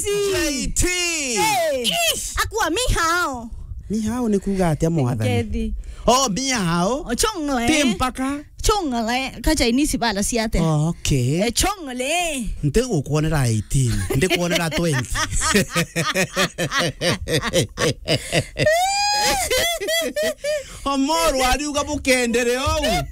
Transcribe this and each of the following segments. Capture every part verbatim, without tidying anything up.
J T. Hey. Ish. Akua mihao. Mihao ni kuuga atia, mwathani? Ngethi. Oh, mihao. Ochongle. Ti mpaka. Chongle. Ka Chinese bala siate. Oh, okay. Eh, chongle. Nti gukwonera eighteen. Ndi kwonera twenty. Omoro ariuga bukendere ou.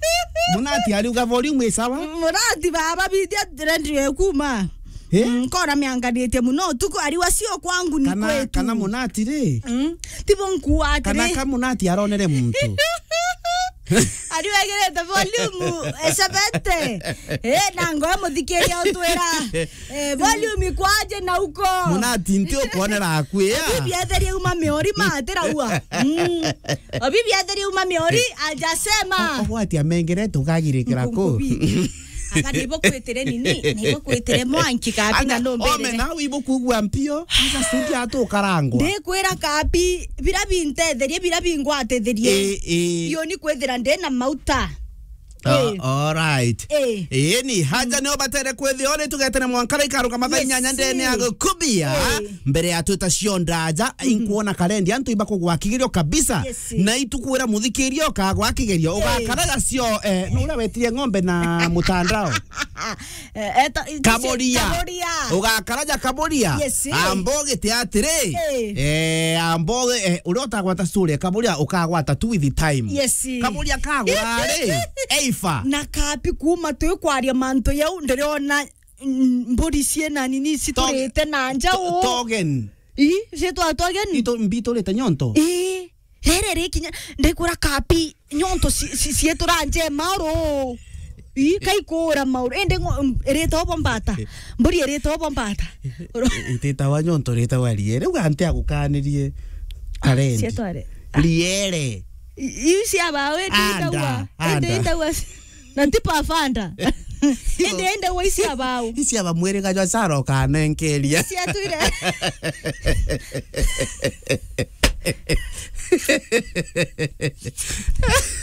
Munati ariuga volume isawa. Munati baba, bithia radio ekuma. Eh? Mm, nkora mianganitie muno utuku, ariwa sio kwangu ni kana, kwetu. Kana Munati ri? Mm, tibo nkuwa atiri. Kana ka Munati aronere muntu. Ariwegirite volume esebete. Eh, na ngoe muthikiria utwira. Eh, volume kwaje na uko. Munati nti ukwonera akwia. Bibi etherie uma miori matira ua. Mm. Obibi etherie uma miori ajasema. Ogwati amengerete ukagirikira ku. Nkubi. Aka nibo kwitire nini? Nibo kwitire mwanki kabi na nombere. Ome na wibo kugua mpio. Aja studio atukarangwa. Ndikwira kabi, bira bintetherie, bira bingwatetherie. Eh, eh. Iyo ni kwithira ndi na mauta. Ah, eh. All right. Eh. Eh, ni haja nio batere kwithio ni tugetene mwankara ikaruka mathaa inyanya ndene ya gukubia. Eh. Mbere ya twita cionda aja, inkuona karendi antu ibakugwakigirio kabisa. Yes. Na itukwira muthikiria ukagwa kigerio, eh, ugakaraga cio, eh, no uria wetirie ng'ombe na mutandao. Eh, eta, Kaboria. Kaboria. Ugakaraja Kaboria. Yes. Ambo gite atiri. Eh. Eh, ambo, eh, uria utagwata story, Kaboria ukagwata tu with the time. Yes. Kaboria kagwa ri, eifa. Na kapi kuma twi kwaria mantu yau, ndiriona, mm, mburi ciena nini citurite na njau. To-, togen. Ii, citwa togen. Ito mbiturite nyonto. Ii. Rere rikinya, ndikura kapi, nyonto ci-, ci-, cietura nje mauru. Ii, kaikura mauru. Indi ngo-, m-, irita obo mbata. Mburi irita obo mbata. Ititawa nyonto, ritawa riere. Riu anti agukanirie. Arendi. Cietware. Riere. I-, iu cia bawe, indi itawa. Anda, indi anda. Itawa. Na ti pafanda. Indi, indi wa isi abau. Isi aba mwiriga jwa Sara ukanenkeria. Isi atwire.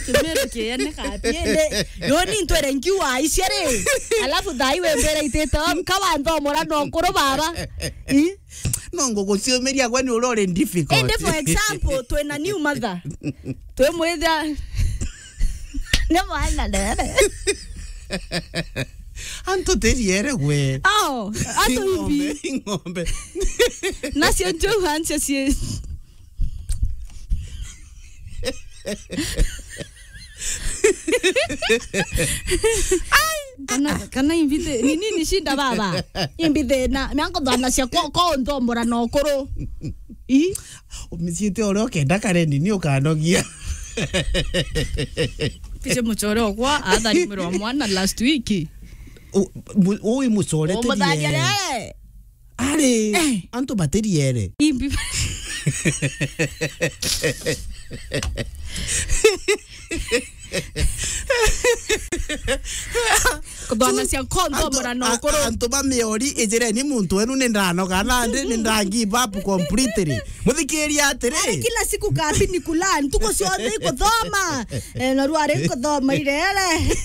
Kimero kiene kapi indi. Yo ni ntwere nkiwa isi ari. Alafu thai we mbere itete. Kawa nthomora no kuru baba. I? No nguguciumiria gwe ni uria uri difficult. Indi for example, twina new mother. Twimwithia. Ni mwana ndere. Antu tiriere gwe. Ao, antu imbi. Ng'ombe, ng'ombe. Nacio njou hancio cie. Ai, kana, kana imbi thi-, ni nini shinda baba? Imbi thina, miango thana cia ko, ko ndombora na ukuru. I? Umiciite uria ukenda kare nini ukanogia. Piche muchore okwa, atharimirwa mwana last week. U-, mu-, ui muchore. Umutharia tiriere. Ari, eh, antu batiriere. Imbi. Kuthona cia nkondo antu, murano a-, ukuru. Antu ba miori, ijireni muntu wenu ni ndanoga nandi, ni nda give up completely. Muthikiria atiri. Ari kila siku kabi ni kula, ntuku cionthe ikuthoma. Eh, na rwari kuthoma irere.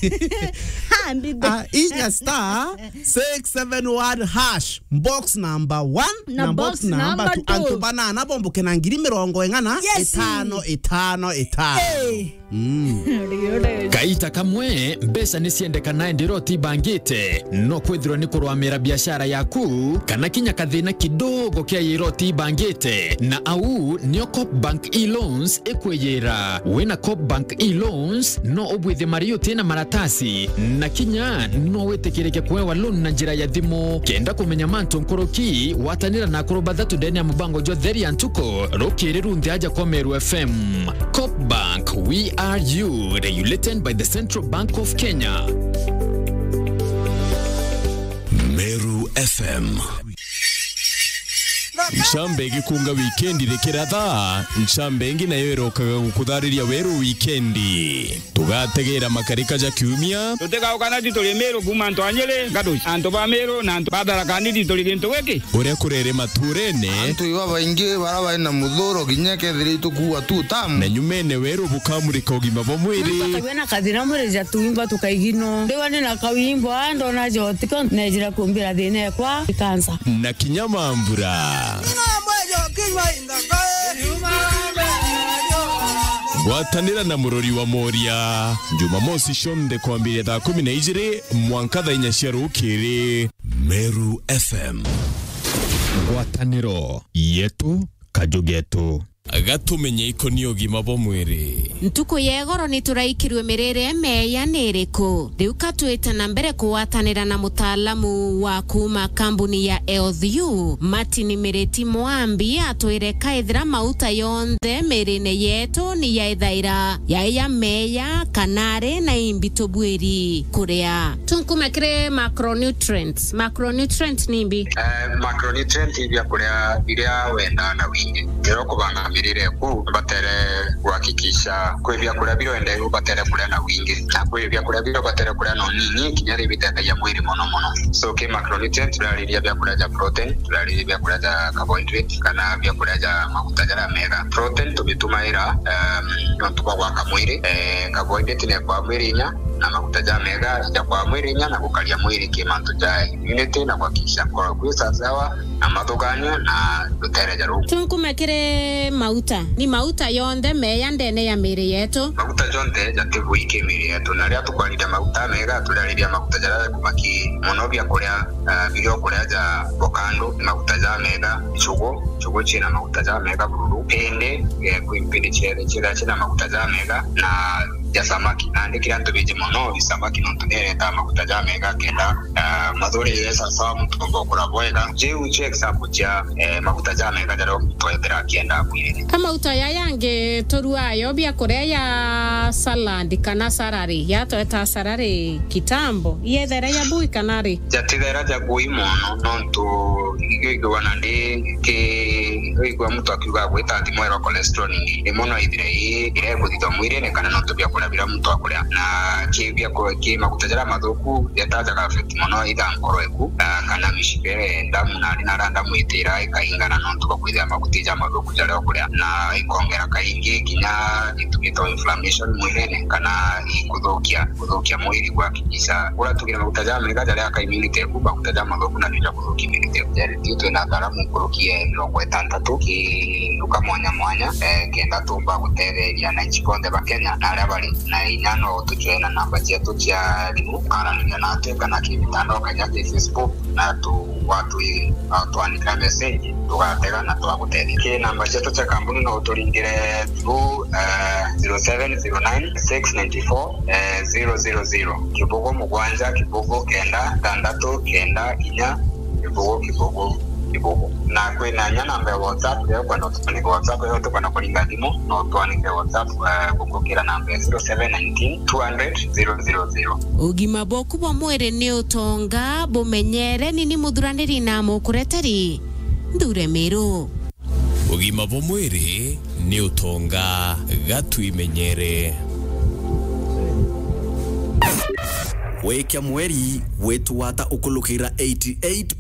Ha, mbithe. Ah, inya star six seven one hash. Box number one na box number two. Antu banana bomboke na ngiri mirongo ing'ana. Yes. Itano, itano, itano. Eh. Mm. Kaita kamwe, mbeca ni ciendekana indi uria utibangite. No kwithirwa ni kurwamira biashara yaku, kana kinya kathina kidogo kia yira utibangite. Na au nio Coop Bank e-loans ikwiyira. Wina Coop Bank e-loans, no ubwithie mari utina maratasi, na kinya no witikirike kuewa loan na njira ya thimu. Kenda kumenya mantu nkuruki, watanira na akuru bathatu ndene ya mubango jwa Theria Ntuku, rukiri runthe aja kwa Meru F M. Coop Bank, we are you, regulated by the Central Bank of Kenya. Meru F M. Ncambe igikunga wikendi rikiratha, ncambe ingi nayo irokaga gukuthariria weru wikendi. Tu- Gategera makarika ja kiumia. Tutigauka na ti turi Miru kuuma antu a Nyeri, Ngaduci, antu ba Miru na antu ba Tharaka Nithi turi gintu giki. Uria kurere maturene. Antu iba baingi bara bari na muthuro kinya kethira itukuua tu tamu. Na nyumene weru bukamurika ugima bwa mwiri. Muntu akagua na kathina mwiri ja tuimba tukaigino. Ndiwa ni na kauimbo, a ndona jotiko, nejira kumbira thina ekwa ikansa. Na kinya mambura. Gwatanira na murori wa Moria, Jumamosi cionthe kwambiria thaa kumi na ijiri mwanka thaa inya cia rukiri. Meru F M. Ngwataniro yetu, kaju getu. Gatumenye ikoni ugima bwa mwiri. Ntuku ya igoro ni turaikirwe mirire meya ni iriku? Riu ka twite na mbere kugwatanira na mutaalamu wa kuuma kambuni ya Health U, Martin Miriti Mwambi, atwire kaithira mauta yonthe mirine yetu ni yaithaira yai ya meya kana ari na imbi tubwiri kuria. Tunkume kiri macronutrients. Macronutrient ni imbi? Eh, macronutrient ni biakuria biria wendaa na wingi. Riria ukubanga mirire eku, batere kuhakikisha kwi biakuria biria wenda ubatere kuria na wingi, na kwi biakuria biria ubatere kuria na unini, kinya riria bitethagia mwiri mono mono. So, ki macronutrient, turariria biakuria ja protein, turariria biakuria ja carbohydrate, kana biakuria ja maguta jaria mega. Protein tubitumaira, um, nontu bwa gwaka mwiri, eh, carbohydrate ni kwa mwiri inya, na maguta ja mega ja kwa mwiri inya, na gukaria mwiri ki mantu ja immunity na kuhakikisha nkoro kwi sawa na mathuganio na rutere ja ruu. Tunkume kiri mauta. Ni mauta yonthe meya ndene ya miri yetu? Maguta jonthe jati bui ki miri yetu, na riria tukwariria maguta mega, turariria maguta jaria jakuma ki mono biakuria, ah, biria ukuria ja bokandu, ni maguta ja mega, nchugu, nchugu ciina maguta ja mega bururu, mpindi, eh, kwi mpindi ciethe cietha ciina maguta ja mega, na ja samaki. Nandi kiria antu bingi mono, i samaki nontu ni iretaa maguta ja mega kenda, ah, mathuri sawa sawa muntu umba ukura bwega. Jiu cio example cia, eh, maguta ja mega jaria muntu ethira akienda mwirine. Ka mauta ya yangi turuayo biakuria ya salad kana salary, ya tweta salary kitambo, yethera ya bui kana ri? Jatithera ja bui mono, nontu igwigua nandi ki, igwigua muntu akiuga gwita thimu ero cholesterol ni, ni mono ithire i, ire kuthithwa mwirine kana nontu biakuria biria muntu akuria. Na ki biaku-, ki maguta jaria mathuku, jeta jaga affect mono either nkoro eku, ah, kana mishipa iria ya ndamu, na ari na ara ndamu itira ikaingana nontu bwa kwithira maguta ja mathuku jaria ukuria, na ikongera kaingi kinya gitumi to inflammation mwirine, kana ikuthukia, kuthukia mwiri gwa Isa, uria tugire maguta ja mega jaria aka immunity eku, maguta ja mathuku na ja kuthukia immunity eku. Jari, ti twina ataramu nkuruki ya mirongo itantatu ki nduka mwanya mwanya, eh, kenda tumba gutetheria ananchi bonthe ba Kenya na aria bari na inya. No utucwe na namba cietu cia thimu, ukaraniria natwi kana ki mitandao kanya ki Facebook, na tu, watu, ah, twanika message, tugatega na twagutethia. Ki namba cietu cia kambuni no uturingire through, eh, zero seven zero nine six nine four, eh, zero zero zero, kibugu mugwanja, kibugu kenda, thanthatu, kenda, inya, kibugu, kibugu, kibugu. Na kwina inya namba ya WhatsApp, riria ukwenda utwanike WhatsApp, riria utukwenda kuringa thimu, no utwanike WhatsApp, eh, gukukira namba ya zero seven nineteen two hundred zero zero zero. Ugima bwaku bwa mwiri ni utonga, bumenyere. Ni ni muthuraniri na mukureteri, Nthure Miru. Ugima bwa mwiri ni utonga, ga twimenyere. Gwikia mweri gwitwata ukulukira eighty-eight